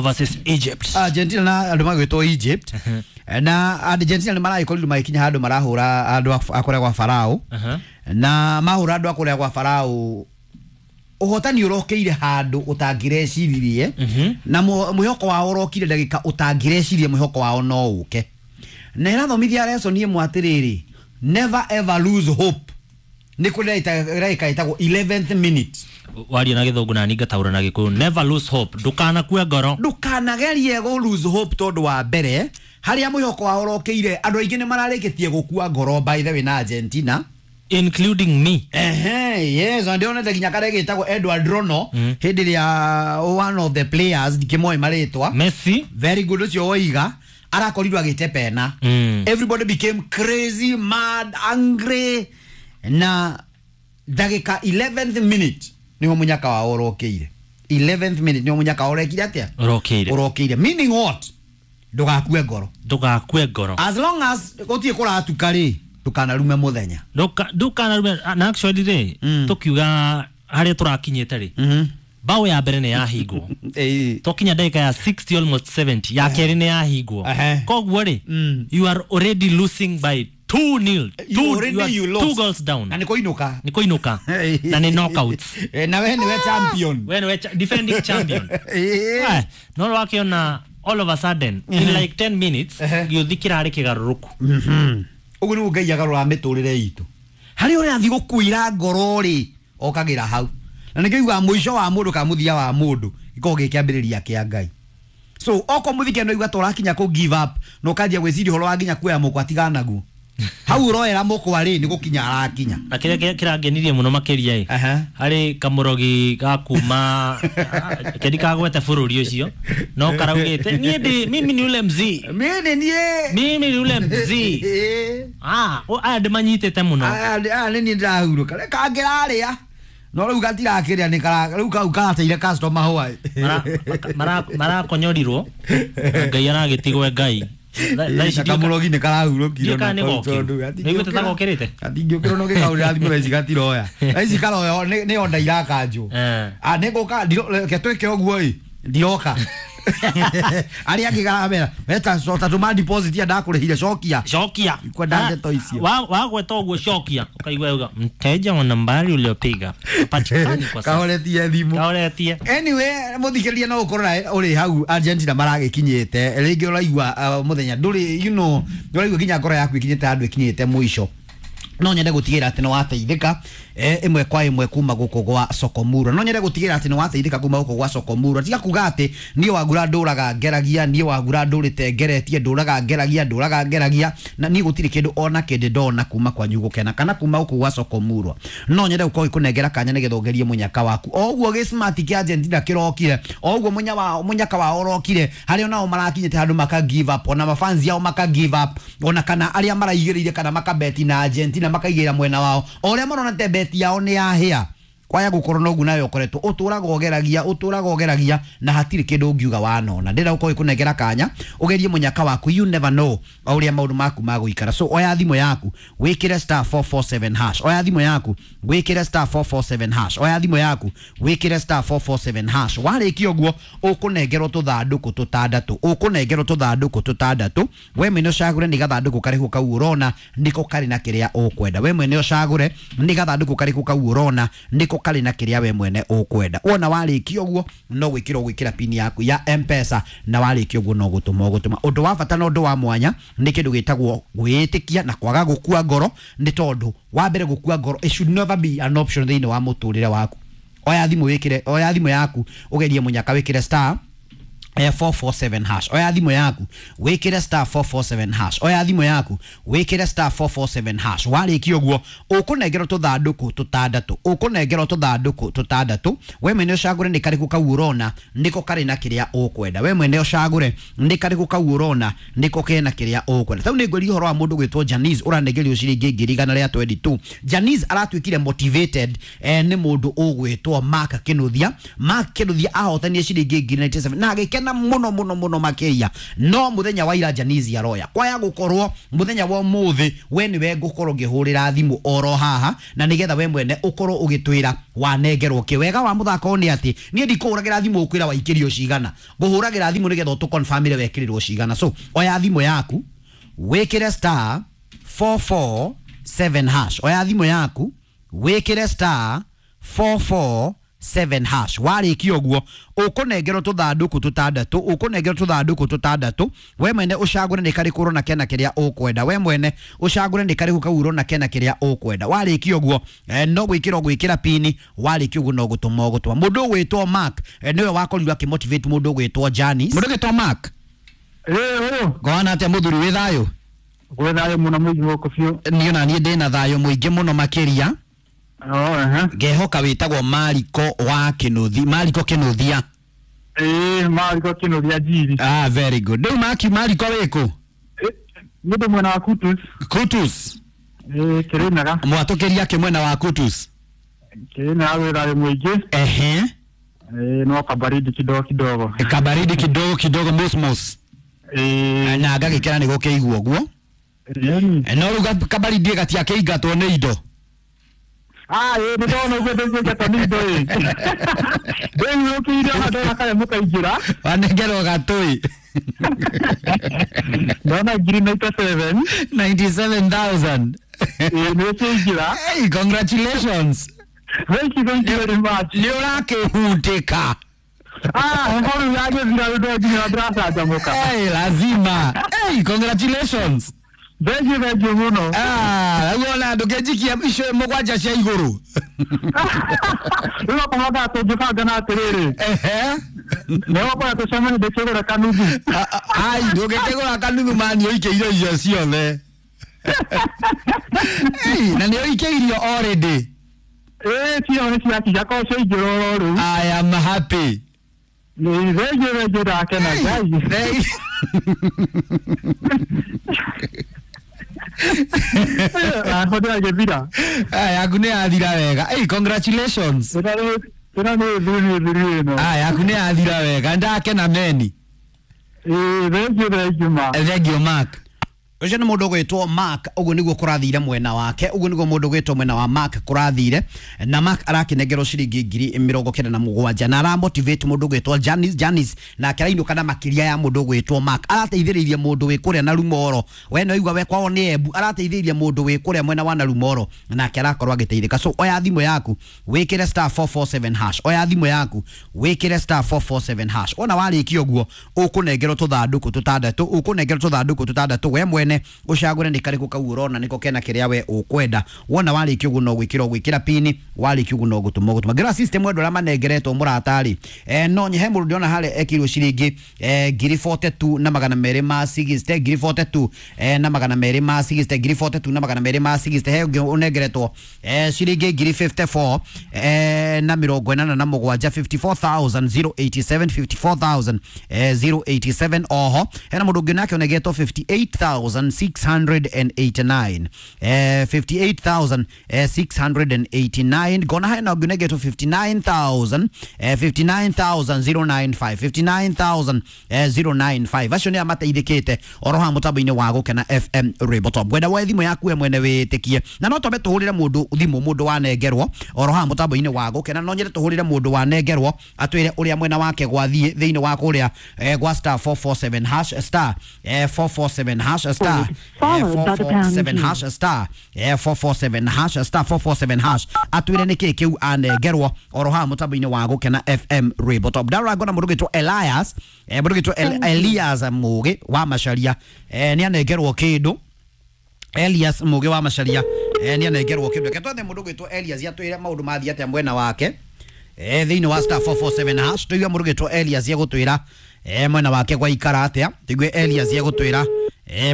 Versus Egypt. Argentina na andå magwätwo Egypt na Argentina nä maragäkorirwo magäkinya handå marahå andå a kũrĩa gwa Farao na mahå ra andå a kũrĩa gwa Farao ũhotani ũrokeire handũ ũtangĩreciririe na mwĩhoko wao ũrokire ndagĩka ũtangĩrecirie mwĩhoko wao no ũke na ĩrathomithia lesson ĩmwe atĩrĩrĩ, never ever lose hope. Nĩ kũrĩ ndagĩka ĩtagwo 11th minute. Waria na gĩthũngũ na ningataũra na gĩkũyũ, never lose hope, ndũkanakue ngoro. Ndũkanagerie gũ lose hope tondũ wa mbere harĩa mwĩhoko wao ũrokeire andũ aingĩ nĩ mararĩkĩtie gũkua ngoro, by the way, na Argentina including me. Ehe, yes, na ndionete nginya karĩa gĩtagwo Edward Rono hĩndĩ ĩrĩa one of the players ndikĩmoĩ marĩtwa. Messi. Very good, ũcio woiga arakorirwo agĩte pena. Everybody became crazy, mad, angry, na ndagĩka 11th minute nĩho mũnyaka wao ũrokeire. 11th minute nĩho mũnyaka wao ũrekire atĩa? Ũrokeire. Ũrokeire, meaning what? Ndũgakue ngoro. Ndũgakue ngoro. As long as gũtirĩ kũratuka rĩ, ndũkanarume mũthenya. Ndũkanarume. Na actually rĩ, tũkiuga harĩa tũrakinyĩte rĩ, bao ya mbere nĩ yahingwo. Twakinya ndagĩka ya 60, almost 70, ya kerĩ nĩ yahingwo. Koguo rĩ, you are already losing by 2 nil. You already you are you lost. Two goals down. Na nĩ kũinũka. Nĩ kũinũka na nĩ knockouts. Na we nĩwe champion. We nĩwe defending champion. No wakĩona all of a sudden in like 10 minutes gĩũthi kĩrarĩ kĩgarũrũku. Ũguo nĩguo Ngai agarũraga mĩtũrĩre itũ. Harĩa ũrathiĩ gũkuira ngoro rĩ, okagĩra hau na nĩkĩo iguaga mũico wa mũndũ kana mũthia wa mũndũ gĩkoragwo gĩ kĩambĩrĩria kĩa Ngai. So okorwo mũthike no igua ta ũrakinya kũ give up na ũkanjia gwĩciria ũhoro wa nginya kuoya mũkwa, tigana naguo. Hau ũroera mũkwa rĩ, nĩ gũkinya arakinya. Na kĩrĩa kĩrangenirie mũno makĩria ĩ, harĩ kamũrogi ga kuma kendi kagwete bũrũri ũcio no karaugĩte niĩ ndĩ mimi ni ule mzee. Mimi nĩ niĩ. Mimi ni ule mzee. Aya ndĩmanyitĩte mũno. Aya nĩ niĩ ndĩrahurũka kangĩrarĩa no rĩu gatirakĩrĩa nĩ rĩu kau karateire customer hwaĩ. Marakonyorirwo na Ngai aragĩtigwo Ngai. Thaa ici Kamũrogi nĩ karahurũkire. Ndiũĩ kana nĩ gokiru. Nĩiguĩte ta gokĩrĩte? Gatingĩũkĩrwo no gĩkaũrĩra thimũ thaa ici gatiroya. Thaa ici karoya nĩ onda irakanjwo. Nĩ ngũka, reke twĩke ũguo ĩ, ndiroka. Arĩa angĩ karamera weta ta tũma deposit ya ndakũrĩhire, cokia. Cokia. Kwenda ndeto icio. Wagweta ũguo cokia ũkaigua uga mteja wa nambari uliopiga hapatikani kwa sasa. Kahoretie thimũ. Kahoretie. Anyway, mũthikĩrĩria no ũkorwo ũrĩ hau Argentina maragĩkinyĩte rĩngĩ ũraigua mũthenya ndũrĩ, you know, ũraigua nginya ngoro yaku ĩkinyĩte handũ ĩkinyĩte mũico. No nyende gũtigĩrĩra atĩ nĩ wateithĩka ĩmwe kwa ĩmwe kuma gũkũ gwa Sokomura. No nyende gũtigĩrĩra atĩ nĩ wateithĩka kuma gũkũ gwa Sokomura. Tiga kuga atĩ niĩ wagura ndũraga ngeragia, niĩ wagura ndũrĩte ngeretie, ndũraga ngeragia, ndũraga ngeragia, na niĩ gũtirĩ kĩndũ ona kĩndĩ ndona kuma kwanyu gũkena kana kuma gũkũ gwa Sokomura. No nyende gũkorwo ngĩkũnengera kanya nĩgetha ũgerie mũnyaka waku. O ũguo gĩ-smart kĩa Argentina kĩrokire, o ũguo mũnyaka wao ũrokire, harĩa onao marakinyĩte handũ maka give up, ona mafans yao maka give up, ona kana arĩa maraigĩrĩire kana makabeti na Argentina makaigĩrĩra mwena wao, o ũrĩa marona te beti yao nĩ yahĩa. Kwaya gũkorwo noguo nawe ũkoretwo ũtũraga ũgeragia, ũtũraga ũgeragia na hatirĩ kĩndũ ũngiuga wanona. Ndĩrenda gũkorwo ngĩkũnengera kanya ũgerie mũnyaka waku, you never know o ũrĩa maũndũ maku magũikara. So oya thimũ yaku wĩkĩre star 447 hash, oya thimũ yaku wĩkĩre star 447 hash, oya thimũ yaku wĩkĩre star 447 hash. Warĩkia ũguo ũkũnengerwo tũthandũkũ tũtandatũ, ũkũnengerwo tũthandũkũ tũtandatũ. We mwene ũcagũre nĩ gathandũkũ karĩkũ kau ũrona nĩko karĩ na kĩrĩa ũkwenda. We mwene ũcagũre nĩ gathandũkũ karĩkũ kau ũrona nĩko karĩ na kĩrĩa we mwene ũkwenda. Wona warĩkia ũguo no gwĩkĩra ũgwĩkĩra pin yaku ya M-Pesa, na warĩkia ũguo no gũtũma ũgũtũma. Ũndũ wa bata na ũndũ wa mwanya nĩ kĩndũ gĩtagwo gwĩĩtĩkia na kwaga gũkua ngoro, nĩ tondũ wa mbere gũkua ngoro it should never be an option thĩinĩ wa mũtũrĩre waku. Oya thimũ wĩkĩre, oya thimũ yaku ũgerie mũnyaka wĩkĩre star 447 hash. Oya thimũ yaku wĩkĩre star 447 hash. Oya thimũ yaku wĩkĩre star 447 hash. Warĩkia ũguo ũkũnengerwo tũthandũkũ tũtandatũ, ũkũnengerwo tũthandũkũ tũtandatũ. We mwene ũcagũre nĩ karĩkũ kau ũrona nĩko karĩ na kĩrĩa ũkwenda. We mwene ũcagũre nĩ karĩkũ kau ũrona nĩko kena kĩrĩa ũkwenda. Tau nĩ ngwĩria ũhoro wa mũndũ gwĩtwo Janice ũranengerio ciringi ngiri igana rĩa 22. Janice aratuĩkire motivated nĩ mũndũ ũgwĩtwo Mark Kĩnuthia. Mark Kĩnuthia ahotanie ciringi ngiri 97 na agĩkena. Ngakena muno muno muno makiria no muthenya wa ira Janice aroya kwaya gukorwo muthenya wa muthi we niwe ngukorwo ngihurira thimu oro haha na nigetha we mwene ukorwo ugitwira wanengerwo ki. Wega wa muthako ni ati nie ndikuhuragira thimu ukwira waikirio cigana, nguhuragira thimu nigetha utuconfirmire wekirirwo cigana. So oya thimu yaku wikire star 447 hash, oya thimu yaku wikire star 447 hash. Warikia uguo ukunengerwo tuthanduku tutandatu, ukunengerwo tuthanduku tutandatu, we mwene ucagure ni kariku urona kena kiria ukwenda, we mwene ucagure ni kariku kau urona kena kiria ukwenda. Warikia uguo no gwikira gwikira pini, warikia uguo no gutuma ugutuma. Mundu ugwitwo Mark niwe wakorirwo akimotivate mundu ugwitwo Janice. Mundu ugwitwo Mark, ngona atia muthuri wi thayo? Gwĩ thayũ mũno mũingĩ gũkũ biũ. Niĩ ona niĩ ndĩna thayũ mũingĩ mũno makĩria. Ngehoka wĩtagwo Mariko wa Kĩnũthi, Mariko Kĩnũthia. Ĩĩ, Mariko Kĩnũthia Njiri. Ah, very good. Rĩu Maki, Mariko wĩkũ? Nĩ ndĩ mwena wa Kutus. Kutus. Ĩĩ, Kĩrĩnyaga. Mwatũkĩria kĩ mwena wa Kutus? Kĩrĩnyaga gwĩ thayũ mũingĩ. Ehe. Ĩĩ, no kabaridi kidogo kidogo. Kabaridi kidogo kidogo, mosmos. Ĩĩ. Na ngagĩkĩra nĩ gũkĩigua ũguo. No rĩu kabaridi gatiakĩingatwo nĩ indo. Ah, ĩĩ, nĩ ndona ũguo ndĩngĩingatwo nĩ indo ĩ. Ndĩiyũkĩire ona ndona kaya mũkaingĩra. Wanengerwo gatũi. Ndona ngiri 97. 97,000. Ĩĩ, nĩ ũkĩingĩra. Hey, congratulations. Thank you, thank you very much. Nĩ ũrakĩhutĩka. Ah, heho rĩu yagĩthira rĩu nginya ndĩracanjamũka. Hey, lazima. Hey, congratulations. Thank you, thank you mũno. Ah, rĩu ona ndũkĩnjikia icio mũgwanja cia igũrũ. Rĩu okorwo thaa tũngĩbanga na atĩrĩrĩ. Ehe. Nĩ ũgũkora tũcemanie ndĩkĩgũra kanuthu. Ai, ndũngĩkĩgũra kanuthu mani ũikĩire irio ciothe. Hey, na nĩ ũikĩirio already. Ĩĩ, cio nĩ ciakinya korwo ciaingĩra oro rĩu. I am happy. Nĩ thank you, thank you, ndakena Ngai. Ndĩragĩthira. Yaku nĩ yathira wega. Hey, congratulations. Ĩno nĩ thuri thuri ĩno. Ah, yaku nĩ yathira wega. Ndakena meni. Ĩĩ, thank you, thank you, Mark. Thank you, Mark. Ũcio nĩ mũndũ ũgwĩtwo Mark, ũguo nĩguo kũrathire mwena wake, ũguo nĩguo mũndũ ũgwĩtwo mwena wa Mark kũrathire, na Mark arakĩnengerwo ciringi 97,000 na aramotivate mũndũ ũgwĩtwo Janice, Janice nake arainũka na makĩria ya mũndũ ũgwĩtwo Mark. Arateithĩrĩirie mũndũ wĩ kũrĩa na Rumoro, we no igua we kwao nĩ Embu, arateithĩrĩirie mũndũ wĩ kũrĩa mwena wa Narumoro nake arakorwo agĩteithĩka. So oya thimũ yaku wĩkĩre star 447 hash, oya thimũ yaku wĩkĩre star 447 hash. Wona warĩkia ũguo ũkũnengerwo tũthandũkũ tũtandatũ, ũkũnengerwo tũthandũkũ tũtandatũ, we mwene ucagure ni kariku kau urona niko kena kiria we ukwenda. Wona warikia uguo no gwikira gwikira pini, warikia uguo no gutuma gutuma. Ngira system andu aria manengeretwo muratari no nyehe mundu ndiona hare ekirwo ciringi 42 na magana meri ma 60, 42 na magana meri ma 60, 42 na magana meri ma 60. He ungi unengeretwo ciringi 54 na mirongo inana na mugwanja, 54,087, 54,087. Oho hena mundu ungi nake unengeretwo 58,689, 58,689. Gona hena ungi unengeretwo 59,000, 59,095, 59,095. Acio nĩ amateithĩkĩte oro haha mũtambo-inĩ wa Gũkena FM Rainbow Top. Ngwenda woe thimũ yaku we mwene wĩtĩkie, na no twambe tũhũrĩre mũndũ thimũ, mũndũ wanengerwo oro haha mũtambo-inĩ wa Gũkena. No nyende tũhũrĩre mũndũ wanengerwo atwĩre ũrĩa mwena wake gwathiĩ thĩinĩ wa kũrĩa gwa star 447 hash, star 447 hash, star 447 hash, star 447 hash, star 447 hash, atwĩre nĩkĩ kĩu anengerwo oro haha mũtambo-inĩ wa Gũkena FM Rainbow Top. Ndarora ngona mũndũ ũgwĩtwo Elias, mũndũ ũgwĩtwo Elias Mũgĩ wa Macharia, nĩ anengerwo kĩndũ. Elias Mũgĩ wa Macharia nĩ anengerwo kĩndũ. Reke twethe mũndũ ũgwĩtwo Elias atwĩre maũndũ mathiĩ atĩa mwena wake thĩinĩ wa star 447 hash. Tũigue mũndũ ũgwĩtwo Elias egũtwĩra mwena wake gwaikara atĩa. Tũigue Elias egũtwĩra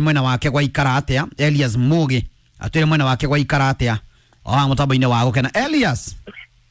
mwena wake gwaikara atĩa. Elias Mũgĩ atwĩre mwena wake gwaikara atĩa o haha mũtambo-inĩ wa Gũkena. Elias.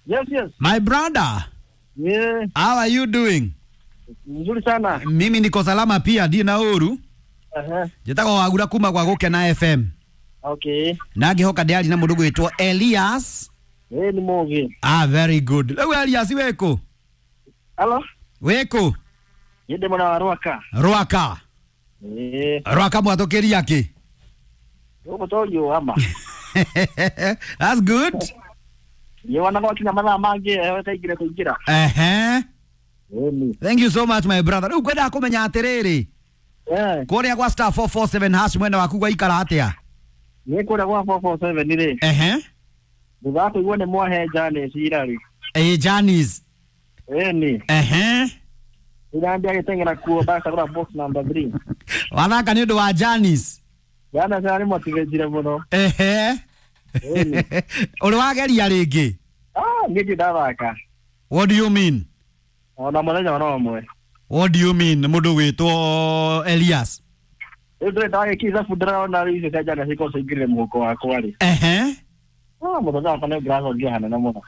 Yes, yes. My brother. Yeah. How are you doing? Nzuri sana. Mimi niko salama pia, ndina uru. Njĩtagwo Wagura kuma gwa Gũkena FM. Okay. Na ngĩhoka ndĩari na mũndũ gwĩtwo Elias. Eh, ni Mũgĩ. Ah, very good. Rĩu Elias wĩkũ? Hello? Wĩkũ? Niĩ ndĩ mwena wa Rwaka. Rwaka. Ĩĩ. Rwaka mwatũkĩria kĩ? Gũkũ to ama. That's good. Riũa na gwakinya mathaa mangĩ ĩkaingĩra kũingĩra. Ehe. Ĩni. Thank you so much, my brother. Rĩu ngwendaga kũmenya atĩrĩrĩ, kũrĩa gwa *447# mwena waku gwaikara atĩa? Niĩ kũrĩa gwa 447 rĩ. Ehe. Thutha wa kũigua nĩ mwahe Janice ira rĩ. Ĩ, Janice. Ĩni. Ehe. Ira ndiagĩteng'era kuo ndacagũra box number 3. Wathaka nĩ ũndũ wa Janice. Janice arĩ motivate mũno. Ehe. Ĩni. Ũrĩ wageria rĩngĩ? Ah, niĩ ndirĩ ndathaka. What do you mean? Ona mũthenya ona ũmwe. What do you mean, mũndũ gwĩtwo Elias? Rĩu ndĩrĩ ndagĩkia ithabu ndĩrona rĩu icio cia Janice ikorwo ciingĩrire mũhuko wakwa rĩ. Ehe. Ah, mũthenya wakwa nĩ ũngĩracokia hanene mũno.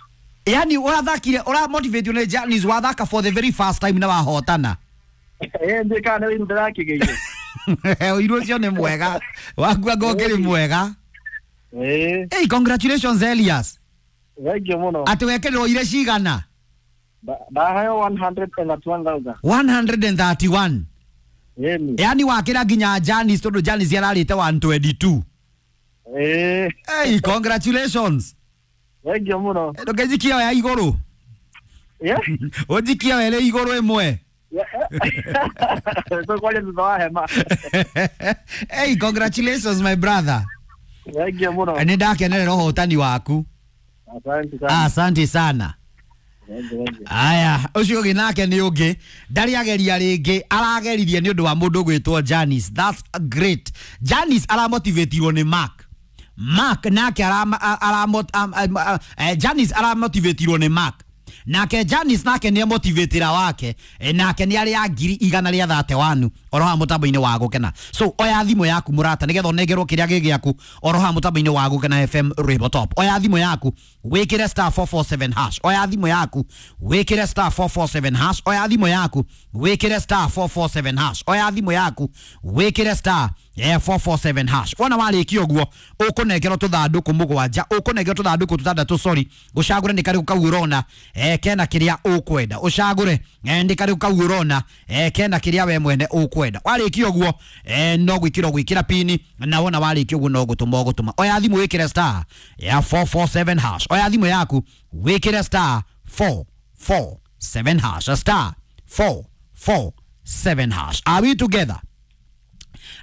Yani ũrathakire, ũramotivate nĩ Janice, wathaka for the very first time na wahotana. Ĩĩ, ndiũĩ kana nĩ ũiru ndĩrakĩgĩire. Ũiru ũcio nĩ mwega wakua ngokĩrĩ mwega. Ĩĩ. Hey, congratulations, Elias. Thank you mũno. Atĩ wekĩrĩrwo ire cigana? Ndaheo 131,000. 131. Ĩni. Yani wakĩra nginya Janice, tondũ Janice ararĩte 122. Ĩĩ. Hey, congratulations. Thank you mũno. Ndũkĩnjikia ya igũrũ. Yeah. Ũnjikie were igũrũ ĩmwe. Tũkwaria thutha wa hema. Hey, congratulations, my brother. Thank you mũno. Nĩ ndakenerera ũhotani waku. Asante sana. Asante sana. Thank you, thank you. Aya, ũcio ũngĩ nake nĩ ũngĩ ndarĩ ageria rĩngĩ, arageririe nĩ ũndũ wa mũndũ ũgwĩtwo Janice. That's great. Janice aramotivatirwo nĩ Mark. Mark nake Janice aramotivatirwo nĩ Mark, nake Janice nake nĩ emotivatĩra wake, nake nĩ arĩ a 131,000 oro haha mũtambo-inĩ wa Gũkena. So oya thimũ yaku, mũrata, nĩgetha ũnengerwo kĩrĩa gĩ gĩaku oro haha mũtambo-inĩ wa Gũkena FM Rwĩmbo Top. Oya thimũ yaku wĩkĩre *447#. Oya thimũ yaku wĩkĩre *447#. Oya thimũ yaku wĩkĩre *447#. Oya thimũ yaku wĩkĩre *447#. Wona warĩkia ũguo, ũkũnengerwo tũthandũkũ mũgwanja, ũkũnengerwo tũthandũkũ tũtandatũ, sorry, ũcagũre nĩ karĩkũ kau ũrona kena kĩrĩa ũkwenda. Ũcagũre nĩ karĩkũ kau ũrona kena kĩrĩa we mwene ũkwenda. Warĩkia ũguo, no gwĩkĩra ũgwĩkĩra pini, na wona warĩkia ũguo no gũtũma ũgũtũma. Oya thimũ wĩkĩre *447#. Oya thimũ yaku wĩkĩre *447#, *447#. Are we together?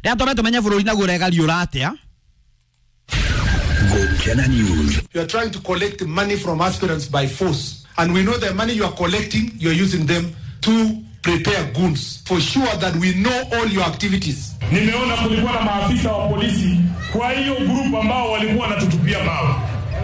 Rĩa tũme tũmenye bũrũri naguo ũregariũra atĩa. Gukena News. You are trying to collect money from aspirants by force. And we know the money you are collecting, you are using them to prepare goons. For sure that we know all your activities. Nimeona kulikuwa na maafisa wa polisi kwa hiyo group ambao walikuwa wanatutupia mawe.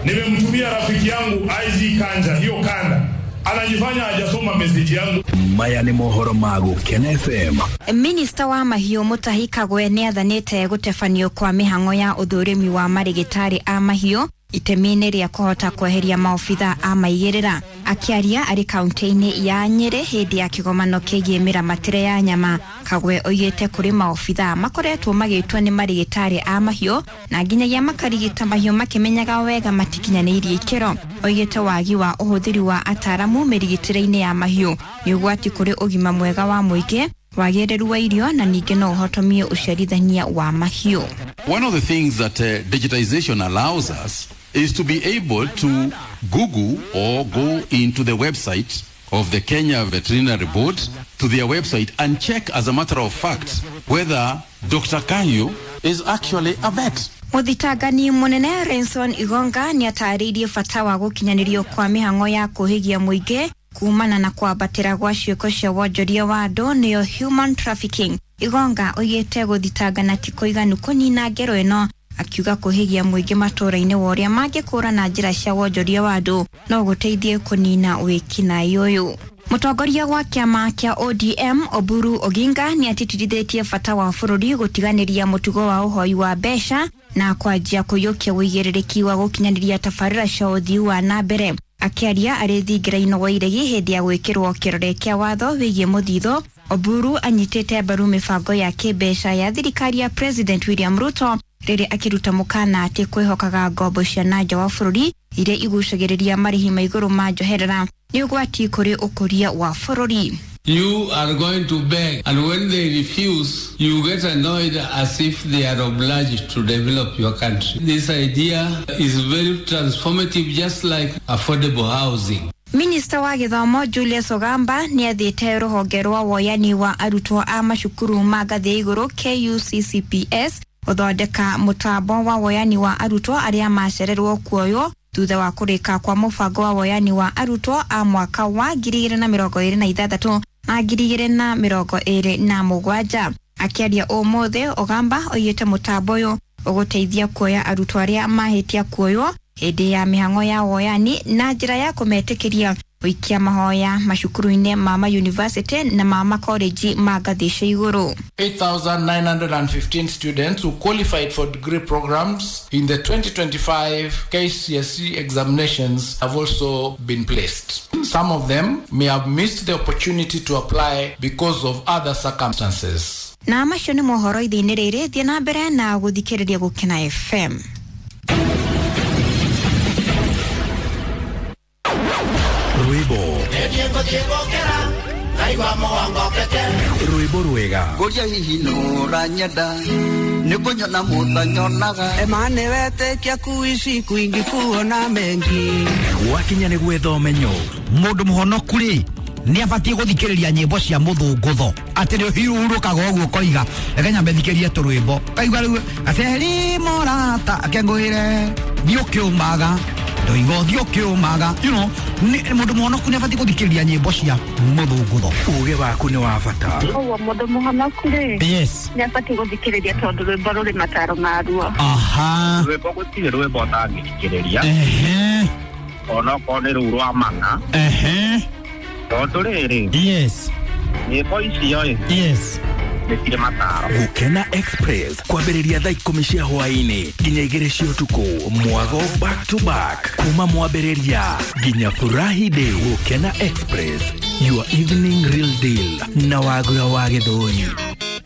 Nimemtumia rafiki yangu IG Kanja hiyo kanda. Anajifanya hajasoma message yangu. Maya nĩ mohoro ma Gukena FM. Minista wa mahiũ Mutahi Kagwe nĩ athanĩte gũtebanio kwa mĩhang'o ya ũthũrimi wa marĩgĩtarĩ a mahiũ itemi-inĩ rĩa kũhota kweheria maobitha a maigĩrĩra. Akĩaria arĩ kaunti-inĩ ya Nyĩrĩ hĩndĩ ya kĩgomano kĩgiĩ mĩramatĩre ya nyama, Kagwe oigĩte kũrĩ maobitha makoretwo magĩtwo nĩ marĩgĩtarĩ a mahiũ na nginyagia makarigita mahiũ makĩmenyaga wega matikinyanĩirie ikĩro. Oigĩte wagi wa ũhũthĩri wa ataramu mĩrigitĩre-inĩ ya mahiũ nĩ ũgwati kũrĩ ũgima mwega wa mũingĩ, wagĩrĩru wa irio na ningĩ no ũhotomie ũciarithania wa mahiũ. One of the things that digitization allows us is to be able to Google or go into the website of the Kenya Veterinary Board, to their website, and check as a matter of fact whether Dr. Kahiu is actually a vet. Mũthitangani mũnene Renson Igonga nĩ atarĩirie bata wa gũkinyanĩrio kwa mĩhang'o ya kũhĩgia mũingĩ kumana na kwambatĩra gwa ciĩko cia wonjoria wa andũ nĩyo human trafficking. Igonga oigĩte gũthitangana ti kũiganu kũnina ngero ĩno, akiuga kũhĩgia mũingĩ matũũra-inĩ wa ũrĩa mangĩkũra na njĩra cia wonjoria wa andũ no gũteithie kũnina wĩkinaĩ ũyũ. Mũtongoria wa kĩama kĩa ODM Oburu Oginga nĩ atĩtĩrithĩtie bata wa bũrũri gũtiganĩria mũtugo wa ũhoi wa mbeca na kwanjia kũiyũkia ũigĩrĩrĩki wa gũkinyanĩria tabarĩra cia ũthii wa na mbere. Akĩaria arĩ thingira-inĩ wa Iregi hĩndĩ ya gwĩkĩrwo kĩrore kĩa watho wĩgiĩ mũthithũ, Oburu anyitĩte mbaru mĩbango ya kĩmbeca ya thirikari ya President William Ruto rĩrĩa akĩruta mũkana atĩ kwĩhokaga ngombo cia na nja wa bũrũri iria igucagĩrĩria marĩhi ma igũrũ ma njoherera nĩ ũgwati kũrĩ ũkũria wa bũrũri. You are going to beg, and when they refuse, you get annoyed as if they are obliged to develop your country. This idea is very transformative, just like affordable housing. Minista wa gĩthomo Julius Ogamba nĩ athĩte rũhonge rwa woyani wa arutwo a macukuru ma ngathĩ ya igũrũ KUCCPS gũthondeka mũtambo wa woyani wa arutwo arĩa macererwo kuoywo thutha wa kũrĩka kwa mũbango wa woyani wa arutwo a mwaka wa 2026 na 2027. Akĩaria ũmũthĩ, Ogamba oigĩte mũtambo ũyũ ũgũteithia kuoya arutwo arĩa mahĩtia kuoywo hĩndĩ ya mĩhang'o ya woyani na njĩra ya kũmetĩkĩria gũikia mahoya macukuru-inĩ ma mayunivasĩtĩ na ma makoreji ma ngathĩ cia igũrũ. 8,915 students who qualified for degree programs in the 2025 KCSE examinations have also been placed. Some of them may have missed the opportunity to apply because of other circumstances. Na macio nĩ mohoro ithe-inĩ rĩrĩ, thiĩ na mbere na gũthikĩrĩria Gũkena FM. Rwĩmbo rwĩmbo rwega Ngũria hihi nũranyenda nĩ kũnyona mũtanyonaga Emane wetĩkia kuishi kwingi kuona mengi gwakinya nĩ gwetha ũmenyo. Mũndũ mũhonoku rĩ nĩ abatiĩ gũthikĩrĩria nyĩmbo cia mũthũngũtho atĩ nĩ ũhurũkaga ũguo ũkoiga reke nyambe thikĩrie tũrwĩmbo kaigua rĩu aceri morata akengũĩre thiĩ ũkĩũmaga ndoiga ũthiĩ ũkĩũmaga, you know, mũndũ mũhonoku nĩ abatiĩ gũthikĩrĩria nyĩmbo cia mũthũngũtho. Ũgĩ waku nĩ wa bata. Ũguo mũndũ mũhonoku rĩ, yes, nĩ abatiĩ gũthikĩrĩria tondũ rwĩmbo rũrĩ mataro maruo. Aha. Rwĩmbo gũtirĩ rwĩmbo ũtangĩthikĩrĩria. Ehe. Onokorwo nĩ rũu rwa mana. Ehe. Tondũ rĩrĩ, yes, nyĩmbo icio ĩ, yes, nĩ cirĩ mataro. Gũkena Express kwambĩrĩria thaa 10 cia hwaĩ-inĩ nginya 2 cia ũtukũ, mwago back to back kuma mwambĩrĩria nginya furahi day. Gũkena Express, your evening real deal na Wagura wa Gĩthũri.